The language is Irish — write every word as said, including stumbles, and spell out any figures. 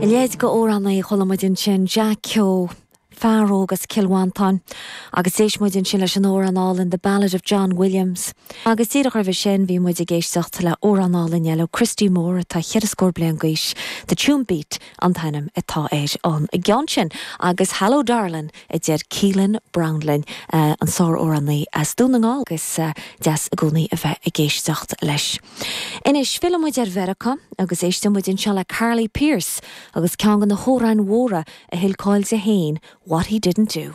A leithéid d'amhránaí a chuala muid ansin Jack Keogh, fear óg as Cill Mhantáin, agus d'éist muid ansin leis an amhrán álainn The Ballad of John Williams. Agus díreach roimhe sin bhí muid ag éisteacht le amhrán álainn eile Christy Moore atá ceithre scór bliain d'aois, The Tunebeat an t-ainm atá ar an gceann sin, agus Hello Darling a deir Keelan Brownlin uh, an sáramhránaí as Dún na nGall agus uh, deas i gcónaí a bheith ag éisteacht leis. Anois fillfidh muid ar Mheiriceá agus éistfidh muid anseo le Carly Pearce agus ceann de na hamhráin mhóra a thuill cáil di féin, What He Didn't Do.